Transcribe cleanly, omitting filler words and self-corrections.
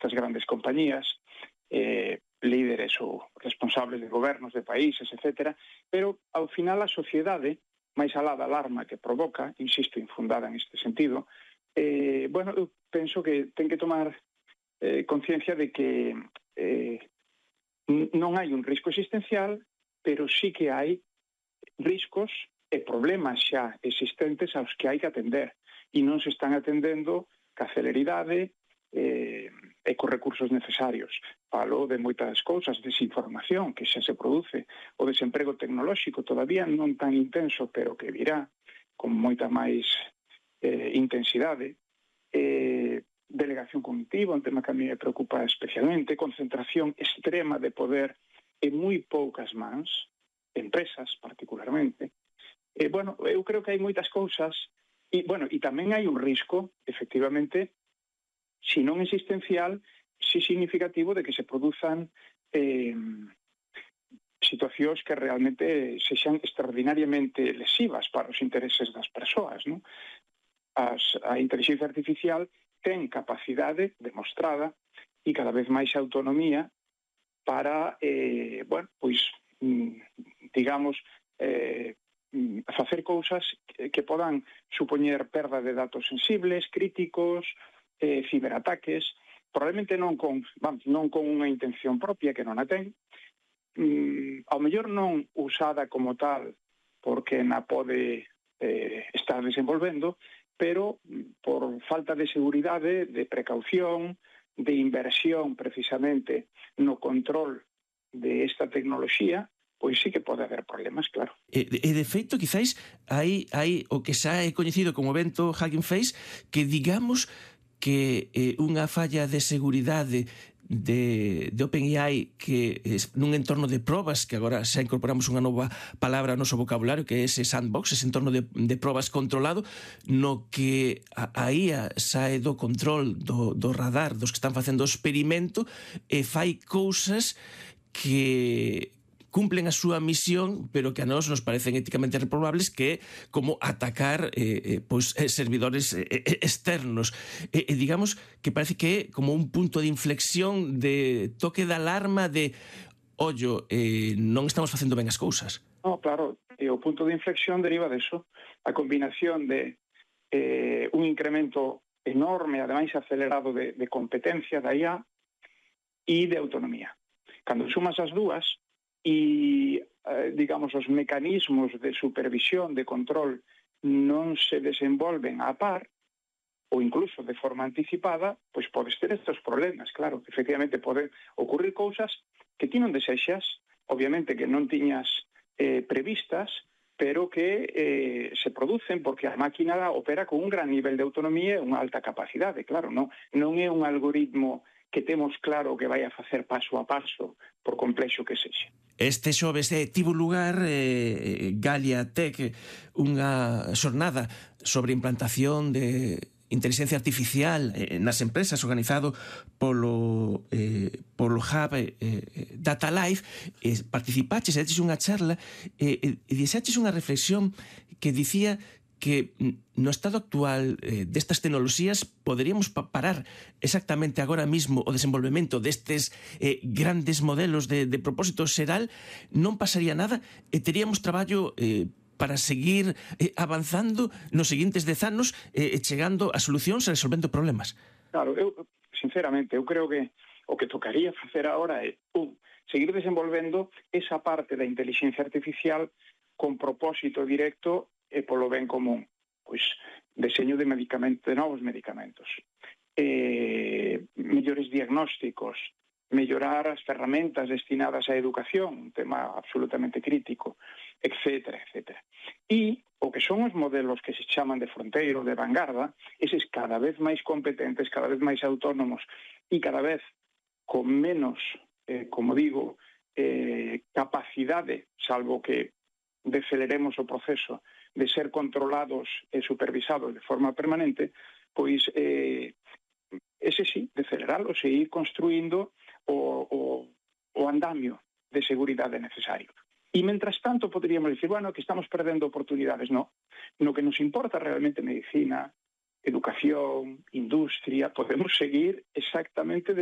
destas grandes compañías, líderes ou responsables de gobernos de países, etc. Pero, ao final, a sociedade, máis alá da alarma que provoca, insisto, infundada neste sentido, eu penso que ten que tomar conciencia de que non hai un risco existencial, pero sí que hai riscos e problemas xa existentes aos que hai que atender e non se están atendendo ca celeridade e cos recursos necesarios. Falo de moitas cousas, desinformación que xa se produce, o desemprego tecnolóxico todavía non tan intenso, pero que virá con moita máis intensidade, delegación cognitiva, un tema que a mí me preocupa especialmente, concentración extrema de poder en moi poucas mans, empresas particularmente. Eu creo que hai moitas cousas e tamén hai un risco, efectivamente, si non existencial, si significativo de que se produzan situacións que realmente sexan extraordinariamente lesivas para os intereses das persoas, non? A inteligencia artificial ten capacidade demostrada e cada vez máis autonomía para, facer cousas que podan supoñer perda de datos sensibles, críticos, ciberataques, probablemente non con unha intención propia, que non a ten, ao mellor non usada como tal porque na pode estar desenvolvendo, pero por falta de seguridade, de precaución, de inversión precisamente no control de esta tecnoloxía, pois sí que pode haber problemas, claro. E de feito, quizáis, hai o que xa é coñecido como evento Hugging Face, que digamos que unha falla de seguridade de OpenAI que nun entorno de probas, que agora xa incorporamos unha nova palabra ao noso vocabulario, que é ese sandbox, ese entorno de probas controlado, no que a IA sae do control do radar dos que están facendo o experimento e fai cousas que cumplen a súa misión, pero que a nós nos parecen éticamente reprobables, que é como atacar servidores externos. Digamos que parece que é como un punto de inflexión, de toque de alarma, de ollo, non estamos facendo ben as cousas. No, claro, o punto de inflexión deriva deso, a combinación de un incremento enorme, ademais acelerado de competencia da IA e de autonomía. Cando sumas as dúas, e, os mecanismos de supervisión, de control, non se desenvolven a par, ou incluso de forma anticipada, pois podes ter estes problemas, claro. Efectivamente, poden ocurrir cousas que ti non desexas, obviamente que non tiñas previstas, pero que se producen porque a máquina opera con un gran nivel de autonomía e unha alta capacidade, claro. Non é un algoritmo que temos claro que vai a facer paso a paso, por complexo que sexa. Este xoves tivo lugar Galia Tech, unha xornada sobre implantación de inteligencia artificial nas empresas, organizado polo Hub Data Life. Participaches, eches unha charla e dixeches unha reflexión que dicía que no estado actual destas tecnoloxías poderíamos parar exactamente agora mismo o desenvolvemento destes grandes modelos de propósito xeral, non pasaría nada e teríamos traballo para seguir avanzando nos seguintes 10 anos chegando a solucións e resolvendo problemas. Claro, sinceramente, eu creo que o que tocaría facer agora é seguir desenvolvendo esa parte da inteligencia artificial con propósito directo e polo ben común, pois deseño de novos medicamentos, mellores diagnósticos, mellorar as ferramentas destinadas á educación, un tema absolutamente crítico, etcétera, etcétera. E o que son os modelos que se chaman de fronteiro, de vanguarda, eses cada vez máis competentes, cada vez máis autónomos e cada vez con menos, capacidade, salvo que deceleremos o proceso de ser controlados e supervisados de forma permanente, pois ese sí, deceleralos e ir construindo o andamio de seguridade necesario. E, mentras tanto, poderíamos dicir, que estamos perdendo oportunidades. No que nos importa realmente medicina, educación, industria, podemos seguir exactamente